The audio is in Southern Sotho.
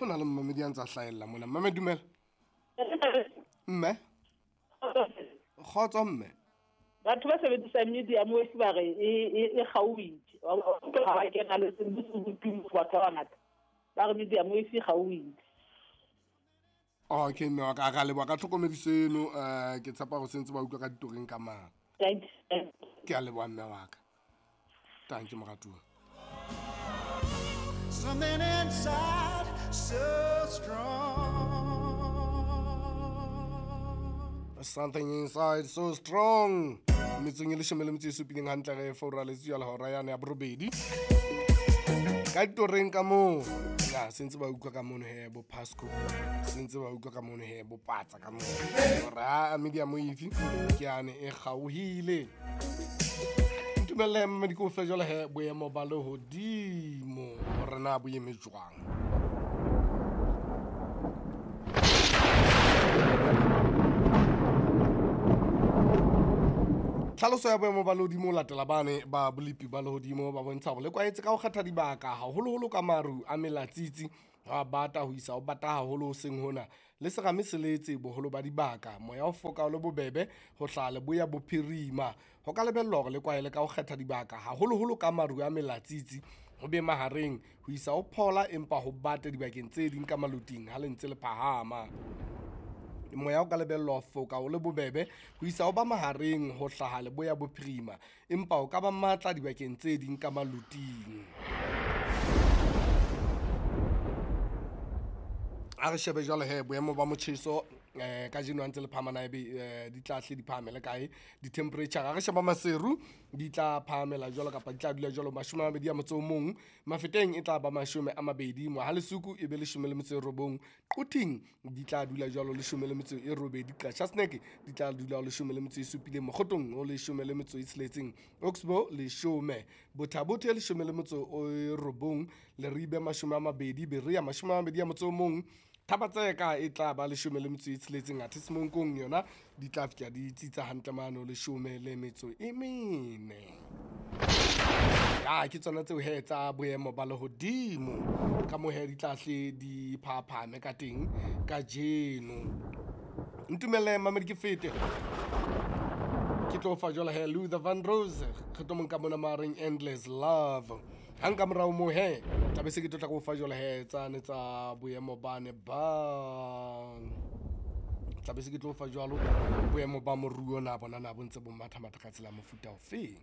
na le mmamedi a ntse a hlahella mona. Mmame dumela. Mme. Kgotso mme. Batho ba sebedisang medium wave ba re e kgaohile. Ga ba kena le batho ba bangata. Ba re medium wave e kgaohile. Okay mme wa ka ka leboha ka tlhokomediso eno, ke tshepa gore sentse ba utlwa ka ditoreng ka mang. Thank you. Ke a leboha mme wa ka. Thank you moratuwa. Something inside so strong. Something inside so strong. Metsong e leshome le metso e supileng hantle re foura letsatsi jwale hora yane ya borobedi. Ka ditoreng ka moo. Ya sentse ba utlwa ka mono he bo Pasco. Sentse ba utlwa ka mono he bo Patsa ka mono. Hore ha medium wave ke yane e kgaohile. Ntumelle mmedi ko fe jwale he boemo ba lehodimo hore na bo eme jwang. Tlhaloso ya boemo ba lehodimo latela bane ba bolepi ba lehodimo ba bontsha hore le kwaetse ka ho kgetha dibaka haholoholo ka maru a melatsitsi a bata ho isa ho bata haholo hoseng hona le serame se letse boholo ba dibaka. Moya o foka o le bobebe ho hlaha leboya bophirima. Ho ka lebellwa hore le kwaele ka ho kgetha dibaka haholoholo ka maru a melatsitsi ho be mahareng ho isa ho phola empa ho bate dibakeng tse ding ka maloting ha le ntse le phahama. Moya o ka lebellwa ho foka o le bobebe ho isa ho ba mahareng ho hlaha leboya bophirima empa o ka ba matla dibakeng tse ding ka maloting. A re shebe jwale he boemo ba motjheso kajeno ha ntse le phahama na ebe di tla hle di phahamele kae di-temperature. A re sheba Maseru di tla phahamela jwalo kapa di tla dula jwalo 21, Mafeteng e tla ba 20, Mohalesuku e be 19, Quthing di tla dula jwalo 18, Qachaseneke di tla dula 17, Mokgotong o 16, Oxbow 10, Bothabothe 19, Leribe 20, Berea 21, Thabatseka e tla ba 16, athe Semonkong yona di tla fihla di tsitsa hantle mano 14. Ya ke tsona tseo he tsa boemo ba lehodimo ka moo he di tla hle di phaphame ka teng kajeno. Ntumelle mamedi ke fete ke tlo fa jwale he Luther Vandross re tlo monka mona mareng Endless Love. Hang ka morao moo he tla be se ke tlo tla go fa jwale he tsane tsa boemo bane ba tla be se ke tlo fa jwalo boemo ba moruo na bona na bo ntse bo matha matha ka tsela mofuta ofeng.